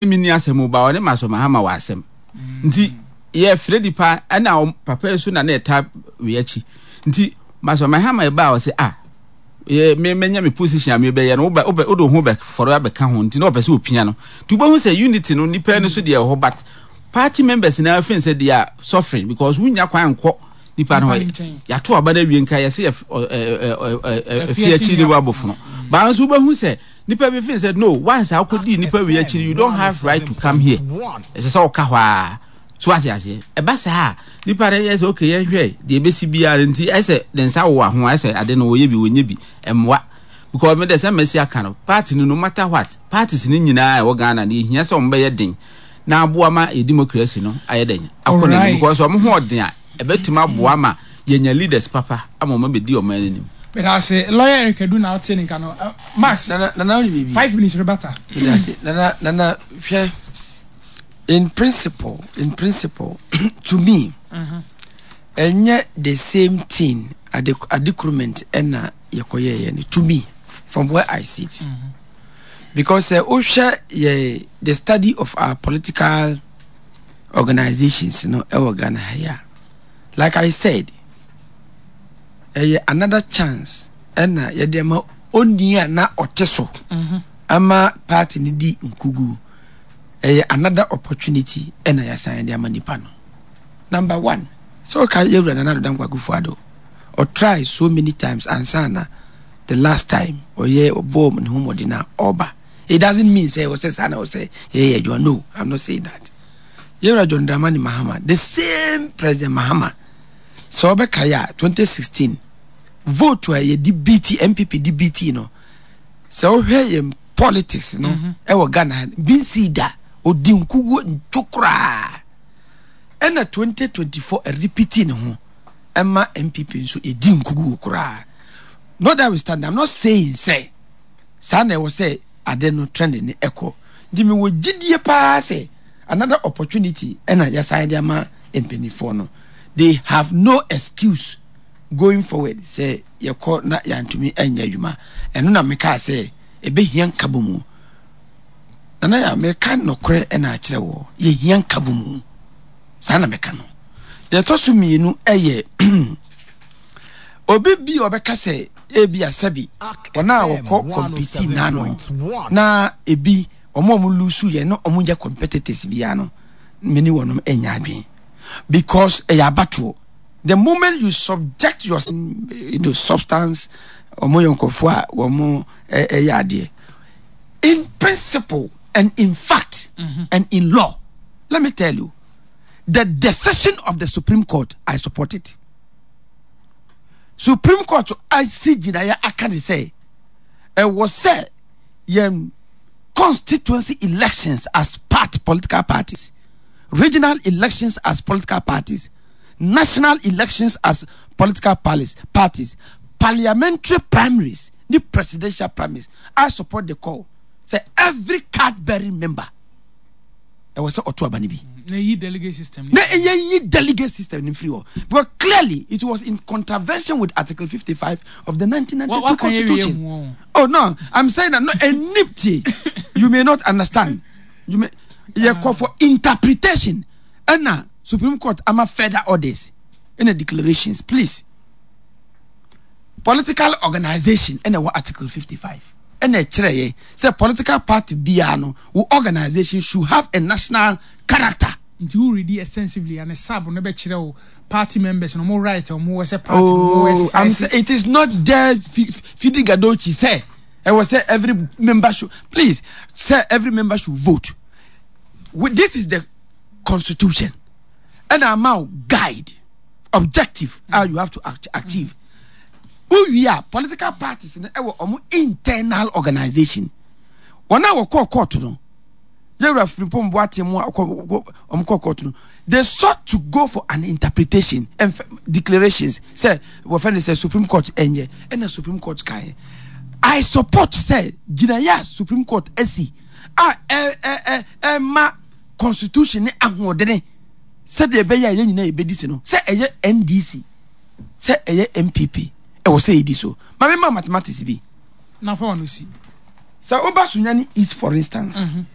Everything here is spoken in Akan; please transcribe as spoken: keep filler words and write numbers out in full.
Mi ni asɛm o, ba ɔne Maxwell Mahama wɔ asɛm nti yɛfrɛ nipa ɛna papa yi so na na ɛta wei akyi. Nti Maxwell Mahama ɛba a, ɔsɛ ah, yɛ me menya me position a mebɛyɛ no, wobɛ wobɛ wode wo ho bɛ fɔrɔ abɛka ho. Nti na ɔpɛ sɛ opia no nti wobɛhu sɛ unity no nipa no so deɛ ɛwɔ hɔ, but party members na afei sɛ they are suffering because wonya kwan nkɔ nipa no hɔ. Yɛato aba no awie, nka yɛsɛ yɛ ɛfi akyi ne wabɔfono baa nso, wobɛhu sɛ nipa bi fi sɛ no, once akɔdi nipa wi akyiri, you don't have right to come here, ɛsɛ sɛ ɔka hɔ a so ate aseɛ. Ɛba saa nipa no yɛ sɛ okay, yɛnhwɛ deɛ ɛbɛsi biara. Nti ɛsɛ ne nsa wɔ ho, ɛsɛ ade no wɔyɛ bi wɔnyɛ bi ɛmmoa, because me de sɛ mɛsi aka no, party no, no matter what, parties no nyinaa ɛwɔ Ghana no, yɛhia sɛ wɔn bɛyɛ den na aboa ma yɛ democracy no ayɛ den akɔ n'anim, because wɔn ho ɔden a ɛbɛtumi aboa ma yɛnya leaders papa ama wɔn abɛdi wɔn anim. Medase, Lawyer Eric Adu na ɔte ne nka no. Max. Nana, Nana, wuli biribi. Five minutes rebata. Medase, Nana. Nana, hwɛ, in principle in principle to me, ɛnyɛ the same thing ade adekurement ɛna yɛkɔyɛyɛ no. To me, from where I sit mm -hmm. because sɛ wohwɛ yɛ the study of our political organizations no ɛwɔ Ghana ha yi a, like I said, ɛyɛ another chance ɛna yɛde ama oni a na ɔte so ama party no di nkugu. Ɛyɛ another opportunity ɛna yɛasan de ama nipa no. Number one, sɛ ɔka yɛwura Nana Addo Dankwa Akufo-Addo, ɔtry so many times ansa na the last time ɔyɛ ɔbɔɔ ne ho mmɔden a ɔba. It doesn't mean sɛ ɔsɛ saa na ɔsɛ yɛyɛ adwuma. No, I'm not saying that. Yɛwura John Dramani Mahama, the same President Mahama, sɛ ɔbɛka yɛ a, twenty sixteen vote a yɛde beat N P P de beat no, sɛ wohwɛ yɛn politics no ɛwɔ Ghana bi nsi da, odi nkuguo ntwo koraa. Ɛna twenty twenty-four ɛrepeat ne ho ɛma N P P nso ɛdi nkuguo koraa. Not that we stand, I'm not saying sɛ saa na ɛwɔ sɛ ade no trend ne ɛkɔ. Nti mewɔ gyidie paa sɛ another opportunity ɛna yɛsan de ama mpanimfoɔ no. They have no excuse going forward sɛ yɛkɔ na yɛantumi anyɛ adwuma. Ɛno na mekaa sɛ ɛbɛhia nkabɔ mu. Nana, yɛ meka nɔkorɛ ɛna akyerɛ wɔ, yɛhia nkabɔ mu. Saa na meka no. Deɛ ɛtɔ so mmienu, ɛyɛ obi bi a ɔbɛka sɛ ebi asɛbi wɔn a wɔkɔ compete n'ano na ebi wɔn a wɔn lose yɛ no, wɔn nyɛ competitors biara no, mene wɔn nyɛ adwene, because ɛyɛ abatoɔ. The moment you subject your you know, substance, wɔn yɛ nkurɔfoɔ a wɔn ɛyɛ adeɛ in principle and in fact mm -hmm. and in law. Let me tell you, the decision of the Supreme Court, I support it. Supreme Court asi gyinaeɛ aka ne sɛ ɛwɔ sɛ yɛn constituency elections as part political parties, regional elections as political parties, national elections as political parties, parties parliamentary primaries the presidential primaries, I support the call sɛ every card bearing member ɛwɔ sɛ ɔto aba no bi. Na eyi delegate system. Na ɛyɛ yi delegate system ni firi hɔ, because clearly it was in contravention with Article fifty-five of the nineteen ninety-two Constitution. Oh no, I'm saying that no enipti, you may not understand, you may yɛ kɔ for interpretation ɛna Supreme Court ama further orders ɛna declarations. Please, political organization ɛna ɛwɔ Article fifty-five ɛna ɛkyerɛ yɛ sɛ political party biara no, wo organization should have a national character. Nti wo read extensively and sub no bɛkyerɛ wo party members no mo right ɔmo wɔ sɛ party no mo exercise. I'm say, it is not there. Fidi Gadochi sɛ ɛwɔ sɛ every member should, please, say every member should vote. This is the constitution ɛna ama wo guide objective mm. you have to achieve. Wowie a, political parties no ɛwɔ ɔmo internal organization. Wɔn a wɔkɔɔ court no, yɛwura Frimpong Boateng mu a ɔmo kɔɔ court no, they sought to go for an interpretation and declarations sɛ wɔfɛ ne sɛ Supreme Court ɛnyɛ ɛna Supreme Court kan yɛ. I support sɛ gyinaeɛ a Supreme Court asi a ɛ ɛ ɛ ɛma constitution ne ahoɔdene sɛdeɛ ɛbɛyɛ a yɛn nyinaa yɛbɛdi si no, sɛ ɛyɛ N D C, sɛ ɛyɛ N P P, ɛwɔ sɛ yɛdi so. Maame, ma mathematics bi. Na fa wɔn si. Sɛ woba Sunyani East, for instance, mm -hmm.